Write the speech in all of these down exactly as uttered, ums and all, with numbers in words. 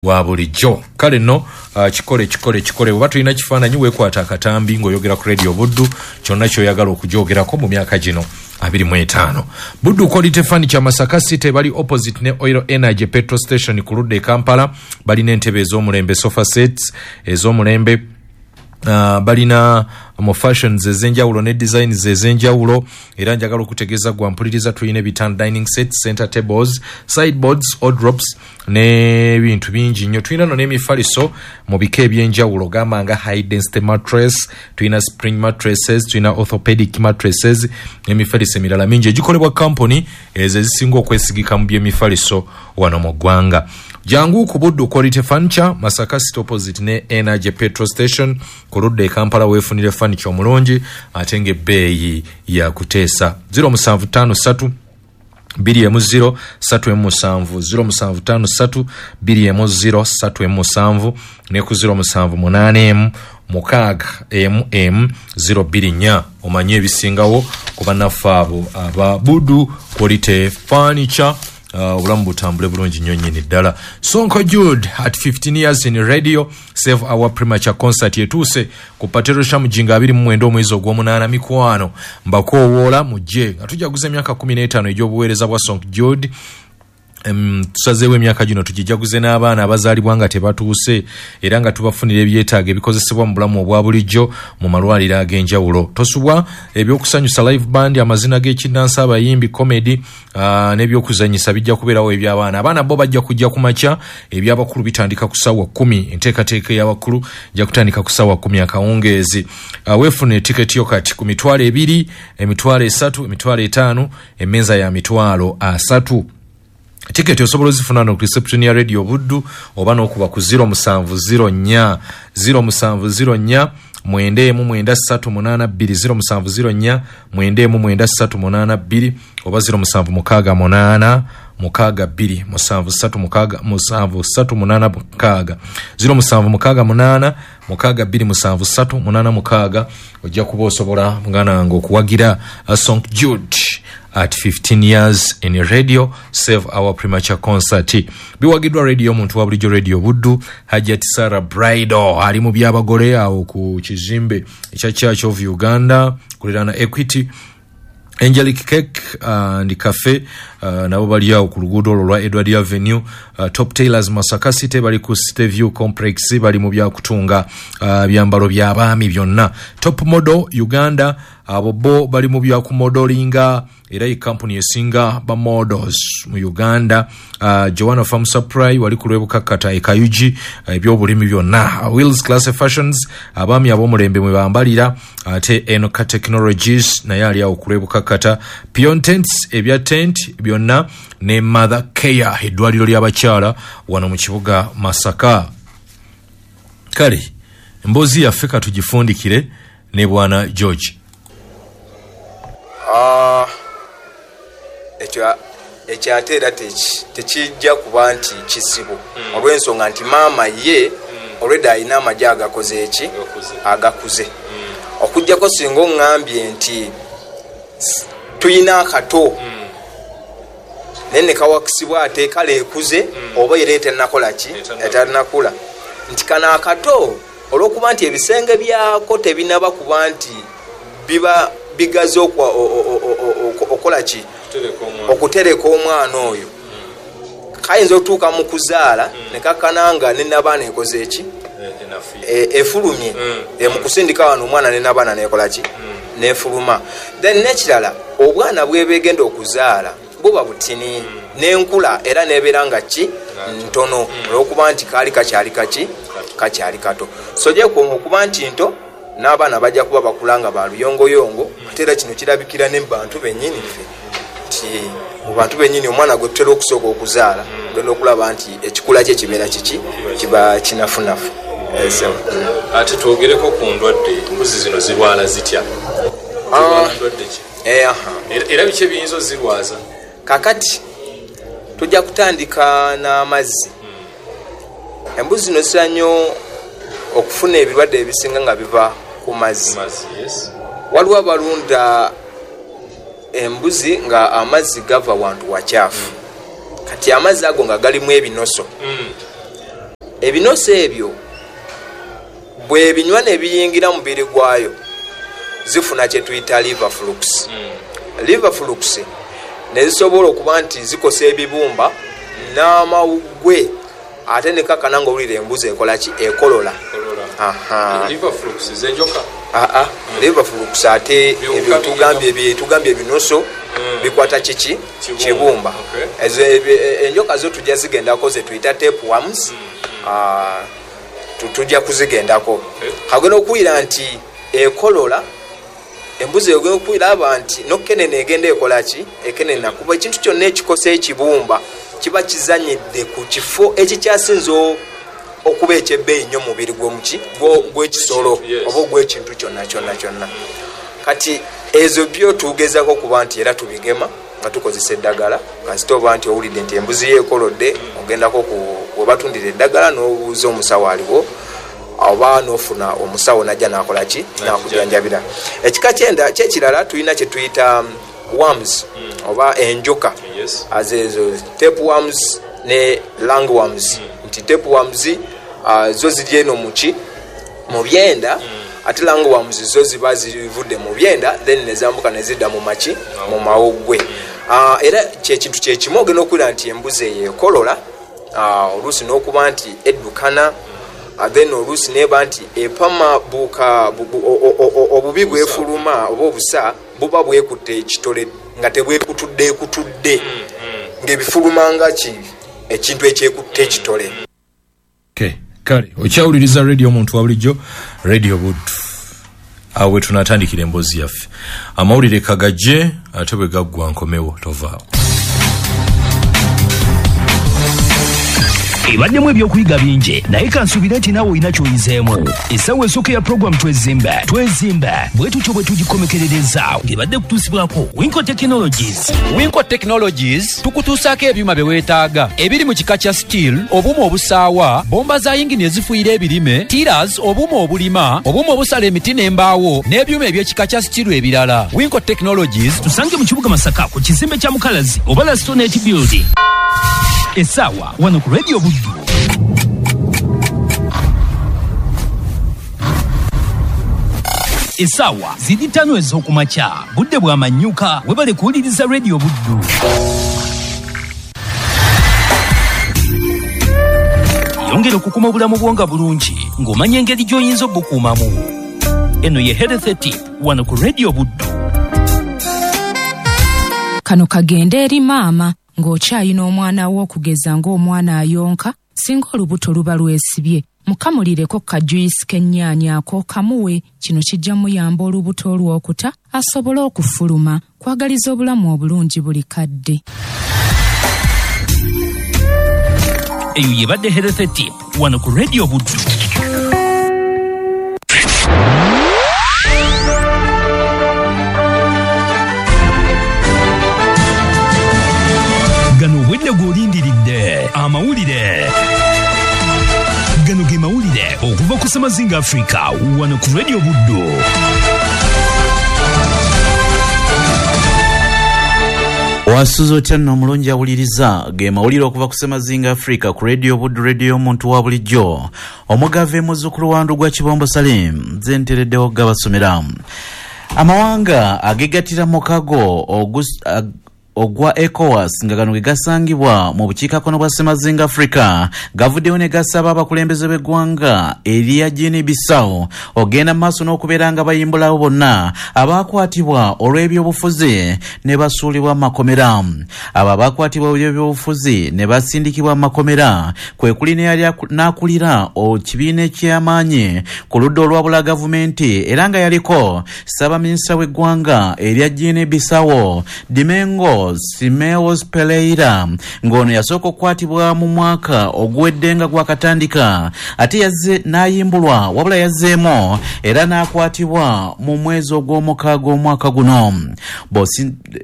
Wa bulijjo. Kale nno, uh, kikole, kikole, kikole. Oba tulina kifaananyi, weekwata akatambi ng'oyogera ku Radio Buddu, kyonna kyoyagala okugyogerako mu myaka gino abiri mu etaano. Buddu Quality Furniture, Masaka City, bali opposite ne Oil Energy petrol station ku ludda e Kampala. Balina entebe ez'omulembe, sofa sets ez'omulembe. Uh, balina mu fashions ez'enjawulo ne designs ez'enjawulo. Era njagala okutegeeza gwa mpuliriza, tulina ebitanda, dining sets, center tables, sideboards, wardrobes n'ebintu bingi nnyo. Tulina no n'emifaliso mu bika ebyenjawulo, gamba nga high density mattress, tulina spring mattresses, tulina orthopedic mattresses n'emifaliso emirala mingi egikolebwa company ezo ezisinga okwesigika mu byemifaliso wano mu ggwanga. Jangu ku Buddu Quality Furniture, Masaka City, opposite ne Energy petrol station ku ludda e Kampala, weefunire furniture omulungi ate ng'ebbeeyi ya kuteesa. zero seven five three two emu zero three emu seven, zero seven five three two emu zero three emu seven, ne ku zero seven eight one six emu emu zero two four. Omanye ebisingawo ku bannaffe abo aba Buddu Quality Furniture. Uh, obulamu butambule bulungi nnyo nnyini ddala. Sonko Jude at fifteen years in radio, Save Our Premature concert etuuse ku Patero Shamujinga abiri mu mwenda omwezi ogw'omunaana. Mikwano, mbakoowoola mujje nga tujaguza emyaka kkumi n'etaano egy'obuweereza bwa Sonko Jude. Um, tusazeewo emyaka gino tugijaguze n'abaana abazaalibwa nga tebatuuse, era nga tubafunira ebyetaago ebikozesebwa mu bulamu obwa bulijjo mu malwaliro ag'enjawulo. Tosubwa ebyokusanyusa, live band, amazina g'ekinnansi, abayimbi, comedy uh, n'ebyokuzanyisa bijja kubeerawo eby'abaana. Abaana bo bajja kujja ku makya, ebyabakulu bitandika ku ssaawa kkumi. Enteekateeka ey'abakulu ejja kutandika ku ssaawa kkumi akawungeezi. uh, weefune tiketi yo kati ku mitwalo ebiri, emitwalo esatu, emitwalo etaano, emmeeza ya mitwalo asatu. Tiketi osobola ozifuna no ku reception ya Radio Buddu oba n'okuba ku zero seven zero four, zero seven zero four nine one nine three eight two, zero seven zero four nine one nine three eight two, oba zero seven six eight six two seven three six seven three eight six, zero seven six eight six two seven three eight six. Ojja kuba osobola, muganda wange, okuwagira uh, Song Jude at fifteen years in radio, Save Our Premature concert. Biwagiddwa radio omuntu wa bulijjo, Radio Buddu, Hajat Sarah Bridal ali mu byabagole awo ku kizimbe ekya Church of Uganda kuliraana Equity, Angelic Cake and Cafe, uh, nabo bali awo ku luguudo olwo lwa Edward Avenue. uh, top Tailors Masaka City bali ku City View Complex, bali mu byakutunga uh, byambalo by'abaami byonna. Top Model Uganda, abo bo bali mu byakumodelinga, era ye kampuni esinga ba models mu Uganda. uh, joanna Farm Supply wali ku lwebukakkata e Kayugi, uh, ebyobulimi byonna. Wills Class Fashions, abaami ab'omulembe mwe bambalira. Ate Enoka Technologies naye ali awo ku lwebukakkata. Pion Tents, ebya tent byonna, ne Mother Care, eddwaliro ly'abakyala wano mu kibuga Masaka. Kale emboozi yaffe katugifundikire ne bwana George. Ah, ekyo ekyo ate era teki- tekijja kuba nti kizibu, olw'ensonga nti maama ye olwedda alina amagi agakoze eki? Agakuze. Okugjako singa oŋŋambye nti s- tuyina akato naye ne kawakisibwa ate kale ekuze oba era etennakola ki, etannakula, nti kano akato olw'okuba nti ebisenge byako tebinaba kuba nti biba bigaze okwa- o- o- o- o- o- okola ki, okutereka omwana oyo, kayinza okutuuka mu kuzaala ne kakana nga nenabaana ekoze eki? E- efulumye E, mu kusindika wano omwana nenabaana nekola ki? Nefuluma. Then nekirala, obwana bwebegenda okuzaala buba butini, nenkula era nebeera nga ki? Ntono, olwokuba nti kaali kakyali kaki? Kakyali kato. So gyekoma okuba nti nto n'abaana bajja kuba bakula nga baluyongoyongo. Ate era kino kirabikira ne mubantu bennyini ffe, nti mu bantu bennyini omwana gwe tutera okusooka okuzaala, ogenda okulaba nti ekikula kye kibeera kiki? Kiba kinafunafu. Eh, so, mm. Ate twogereko ku ndwadde. Embuzi zino zirwala zitya? Ah. Ndwadde ki? Eh, aha. Era- era biki ebiyinza ozirwaza? Kakati tujja kutandika n'amazzi. Embuzi zino zitera nnyo okufuna ebirwadde ebisinga nga biva ku mazzi. Mazzi, yes. Waliwo abalunda embuzi nga amazzi gava wantu wakyafu. Kati amazzi ago nga galimu ebinoso. Mm. Ebinoso ebyo bwebinywa nebiyingira mubiri gwayo zifuna kyetuyita liver flux. Mm. Liver flux nezisobola okuba nti zikosa ebibumba n'amawuggwe, ate nekakana ng'owulira embuzi ekola ki? Ekolola. Aha. Liver flux z'enjoka? Aa, mm. Liver flux ate ebyo tugambye tugambye ebinoso mm. bikwata kiki? Kibumba. Okay. Ezo enjoka zo tujja zigendako ze tuyita tapeworms. Mm. Ah, tujja kuzigendako. Okay. Kagenda okuwulira nti ekolola embuzi egenda okuwulira nti nokenene egenda ekola ki? Ekenena, kuba ekintu kyonna ekikosa ekibumba kiba kizanyidde ku kifo ekikyasinze okuba ekyebbeeyi nnyo mubiri gw'omuki gw'ekisolo oba ogw'ekintu kyonna kyonna kyonna. Kati ezo byo tugezaako okuba nti era tubigema nga tukozesa eddagala. Kasita oba nti owulidde nti embuzi yo ekolodde, ogendako webatundira eddagala n'obuuza omusawo aliwo, oba n'ofuna omusawo najja n'akola ki? N'akujanjabira. Ekika kyenda kyekirala tulina kye tuyita worms oba enjoka. Azezo tapeworms ne lungworms. Nti tapeworms uh, zo ziri eno muki mu byenda, ate lungworms zo ziba zivudde mu byenda then nezambuka nezidda mu maki mu mawuggwe. Uh, era kyekintu kyekimu ogenda okuwulira nti embuzi eyo ekolola, uh, oluusi n'okuba nti eddukana, uh, then oluusi neba nti epama buka obubi bwefuluma oba obusa buba bwekutte ekitole nga tebwekutudde ekutudde ng'ebifuluma nga ki ekintu ekyekutte ekitole. Okay, kale okyawuliriza radio omuntu wa bulijjo, Radio Buddu. Awo we tunatandikira emboozi yaffe. Amawulire kagajje ate bwe gaggwa nkomewo, tovaawo. Ebaddemu ebyokuyiga bingi, naye kansuubire nti naawe olina ky'oyizeemu. Essaawa esooka ya puroguramu Twezimba Twezimba bwe tutyo bwe tugikomekerereza ng'ebadde kutuusibwako Winco Technologies. Winco Technologies tukutuusaako ebyuma bye weetaaga ebiri mu kika kya steel, obuuma obusaawa, bomba za yingini ezifuuyira ebirime, tillers, obuuma obulima, obuuma obusala emiti n'embaawo, n'ebyuma eby'ekika kya steel ebirala. Winco Technologies tusange mu kibuga Masaka ku kizimbe kya Mukalazi oba Lastonet Building. Essaawa wano ku Radio Buddu. Essaawa ziri ttaano ez'okumakya, budde bwa manyuka, webale kuwuliriza Radio Buddu. Yongera okukuma obulamu bwo nga bulungi ng'omanya engeri gy'oyinza obukuumamu. Eno ye Health Tip wano ku Radio Buddu. Kano kagende eri maama ng'okyayina omwana wo okugeza ng'omwana ayonka, singa olubuto luba lwesibye, mukamulireko kajuyisi k'ennyaanya ako kamuwe. Kino kijja muyamba olubuto olw'okuta asobole okufuluma. Kwagaliza obulamu obulungi buli kadde. Eyo yebadde Health Tip wano ku Radio Buddu. Gano obwedde gw'olindiridde amawulire. Gano ge mawulire okuva ku Semazinga Africa wano ku Radio Buddu. Wasuze otya nno omulungi awuliriza ge mawulire okuva ku Semazinga Africa ku Radio Buddu, radio omuntu wa bulijjo. Omugave muzzukulu wa Ndugwa Kibombo Salim nze ntereddewo gabasomera. Amawanga agegattira mukago ogus ag ogwa ECOWAS nga gano ge gasangibwa mu bukiikakkono bwa Semazinga Africa gavuddeyo ne gasaba abakulembeze b'eggwanga erya Guinea Bissau ogenda mu maaso n'okubeera nga bayimbulawo bonna abaakwatibwa olw'ebyobufuzi ne basuulibwa mu makomera. Abo abaakwatibwa olw'ebyobufuzi ne basindikibwa mu makomera kwe kuli n'eyali n'akulira ekibiina eky'amaanyi ku ludda olwabula gavumenti era nga yaliko ssaabaminisita w'eggwanga erya Guinea Bissau Domingo Simeos Pereira, ng'ono yasooka okukwatibwa mu mwaka oguwedde nga gwakatandika ate yazze n'ayimbulwa wabula yazzeemu era n'akwatibwa mu mwezi ogw'omukaaga omwaka guno.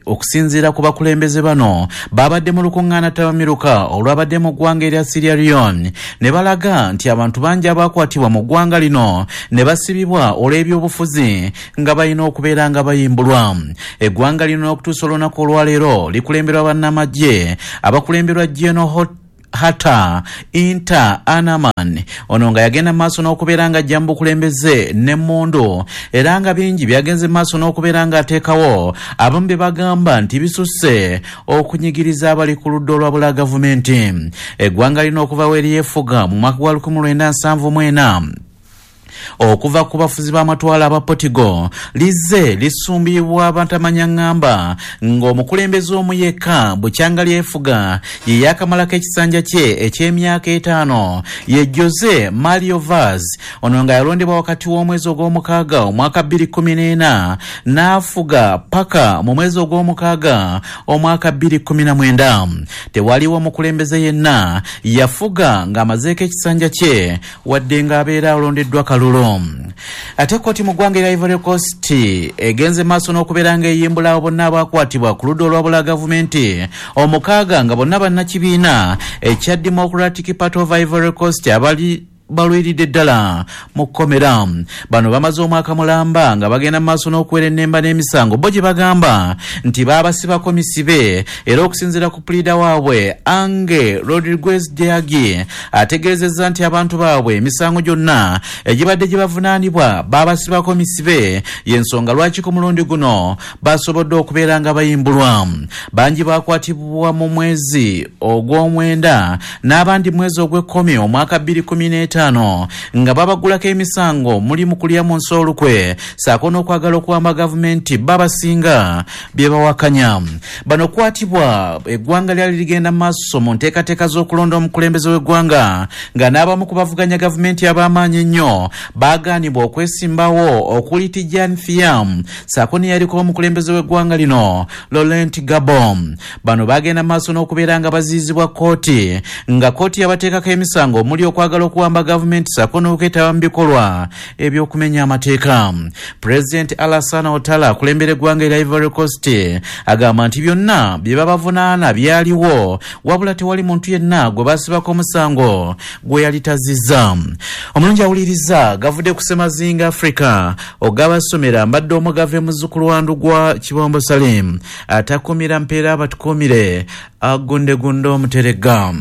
Okusinziira ku bakulembeze bano babadde mu lukuŋŋaana ttabamiruka olwabadde mu ggwanga erya Sierra Leone ne balaga nti abantu bangi abakwatibwa mu ggwanga lino ne basibibwa olw'ebyobufuzi nga balina okubeera nga bayimbulwa. Eggwanga lino okutuusa olunaku olwaleero likulemberwa bannamagye abakulemberwa General Hatta Inter Anaman ono nga yagenda maaso n'okubeera nga ajja mu bukulembeze n'emmundu era nga bingi byagenze maaso n'okubeera nga ateekawo abamu bye bagamba nti bisusse okunyigiriza abali ku ludda olwabula gavumenti. Eggwanga lino okuva we lyefuga mu mwaka gwa lukumi lwenda nsanvu mu ena okuva ku bafuzi b'amatwale aba Portugal lizze lisumbibwa abantamanya ŋŋamba ng'omukulembeze omu yekka bukyanga lyefuga ye yakamalako ekisanja kye eky'emyaka etaano ye Jose Mario Vaz ono nga yalondebwa wakati w'omwezi ogw'omukaaga omwaka bbiri kkumi n'ena n'afuga paka mu mwezi ogw'omukaaga omwaka bbiri kkumi na mwenda. Tewaliwo omukulembeze yenna yafuga ng'amazeeko ekisanja kye wadde ng'abeera alondeddwa kalulu. Ate kkooti mu ggwanga erya Ivory Coast egenze maaso n'okubeera ng'eyimbula abo bonna abakwatibwa ku ludda olwabula gavumenti omukaaga nga bonna bannakibiina ekya Democratic Party of Ivory Coast abali balwiridde ddala mu kkomera. Bano bamaze omwaka mulamba nga bagenda mu maaso n'okuwera ennemba n'emisango bo gye bagamba nti baabasibako misibe era okusinziira ku puliida waabwe Ange Rodriguez Deagi ategeezezza nti abantu baabwe emisango gyonna egibadde gye bavunaanibwa baabasibako misibe y'ensonga lwaki ku mulundi guno basobodde okubeera nga bayimbulwa. Bangi bakwatibwa mu mwezi ogw'omwenda n'abandi mwezi ogw'ekkumi omwaka bbiri kkumi n'etaano nga babagulako emisango muli mu kulya mu nsi olukwe ssaako n'okwagala okuwamba gavumenti babasinga bye bawakanya. Bano kwatibwa eggwanga lyali ligenda mu maaso mu nteekateeka z'okulonda omukulembeze w'eggwanga nga n'abamu ku bavuganya gavumenti ab'amaanyi ennyo baagaanibwa okwesimbawo okuli Tidjane Thiam ssaako neyaliko omukulembeze w'eggwanga lino Laurent Gbagbo. Bano bagenda mu maaso n'okubeera nga baziizibwa kkooti nga kkooti yabateekako emisango omuli okwagala okuwamba gavumenti ssaako n'okwetaba mu bikolwa ebyokumenya amateeka. Pulezidenti Alassane Ouattara akulembera eggwanga erya Ivory Coast agamba nti byonna bye babavunaana byaliwo wabula tewali muntu yenna gwe basibako omusango gwe yali tazizza. Omulungi awuliriza gavudde ku Ssemazinga Africa ogabasomera mbadde omugave muzzukulu wa Ndugwa Kibombo Salim atakumira mpeera abatukuumire agundegunde omuteregga.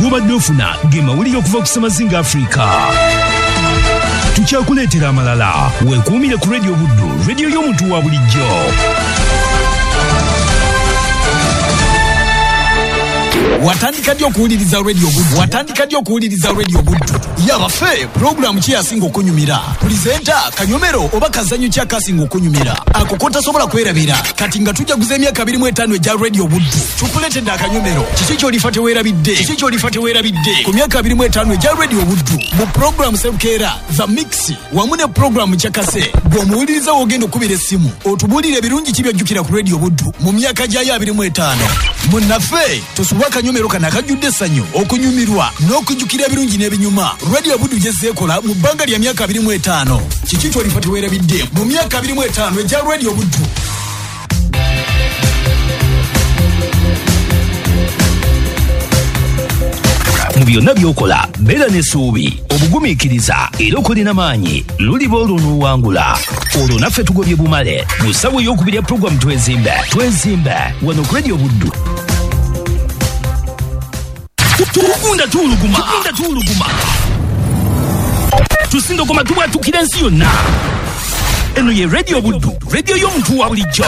Gobadde ofuna ge mawulire okuva ku Ssemazinga Africa. Tukyakuleetera amalala. Weekuumire ku Radio Buddu, radio y'omuntu wa bulijjo. Watandika ddi okuwuliriza Radio Buddu? Watandika ddi okuwuliriza Radio Buddu? Yabaffe, pulogulaamu ki yasinga okunyumira? Pulizenta, kanyomero oba kazannyo ki akasinga okunyumira? Ako kotasobola kwerabira. Kati nga tujaguza emyaka abiri mu etaano egya Radio Buddu, tukuleetedde akanyomero. Kiki ky'olifa teweerabidde? Kiki ky'olifa teweerabidde? Ku myaka abiri mu etaano egya Radio Buddu, mu pulogulaamu Sebukeera, The Mix, wamu ne pulogulaamu Kyakase, bw'omuwuliriza w'ogenda okubira essimu, otubuulire ebirungi ki by'ojjukira ku Radio Buddu mu myaka gyayo abiri mu etaano. Munnaffe, tosubwa akanyomero kano akajjudde essanyu, okunyumirwa n'okujjukira ebirungi n'ebinyuma. Radio Buddu gyezzeekola mu bbanga lya myaka abiri mu etaano. Kiki ky'olifa teweerabidde mu myaka abiri mu etaano egya Radio Buddu? Mu byonna by'okola beera n'essuubi, obugumiikiriza era okole n'amaanyi, luliba olwo n'owangula. Olwo naffe tugobye bumale mu ssaawa ey'okubiri ya pulogulaamu Twezimbe. Twezimbe wano ku Radio Buddu. Tugunda tuwuluguma, tugunda tuwuluguma, tusindogoma tubwatukira ensi yonna. Eno ye Radio Buddu, radio y'omuntu wa bulijjo.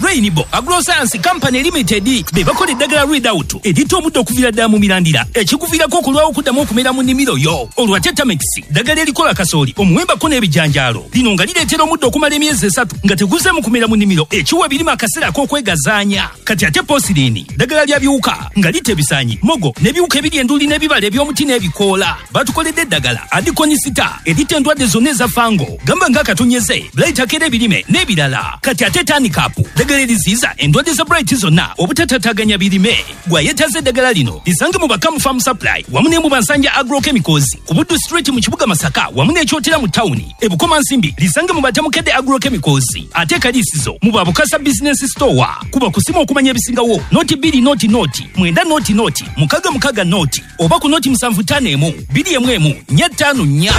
Rainbow Agroscience Company Limited be bakola eddagala Readout erita omuddo okuviira ddala mu mirandira ekikuviirako okulwawo okuddamu okumera mu nnimiro yo. Olwa Tetamix ddagala erikola kasooli, omuwembako n'ebijanjaalo. Lino nga lireetera omuddo okumala emyezi esatu nga teguzeemu kumera mu nnimiro, ekiwa ebirime akaseera ak'okwegazaanya. Kati ate Posirini ddagala lya biwuka nga litta ebisaanyi, mogo n'ebiwuka ebiri enduli n'ebibala eby'omuti n'ebikoola. Batukoledde eddagala Adikonisita erita endwadde zonna eza fango, gamba ng'akatonyeze, blight akera ebirime n'ebirala. Kati ate Tanikapu ddagala eriziyiza endwadde za blight zonna obutatataganya birime. Gwayetaze eddagala lino lisange mu Bakamu Farm Supply wamu ne mu Bansanja Agrochemicals ku Buddu Street mu kibuga Masaka wamu n'Ekyotera mu tawuni. E Bukomansimbi lisange mu Batamukedde Agrochemicals, ate Kalisizo mu Babukasa Business Store. Kuba kusima okumanya ebisingawo noti bbiri noti noti mwenda noti noti mukaga mukaga noti oba ku noti musanvu ttaano emu bbiri emu emu nnya ttaano nnya.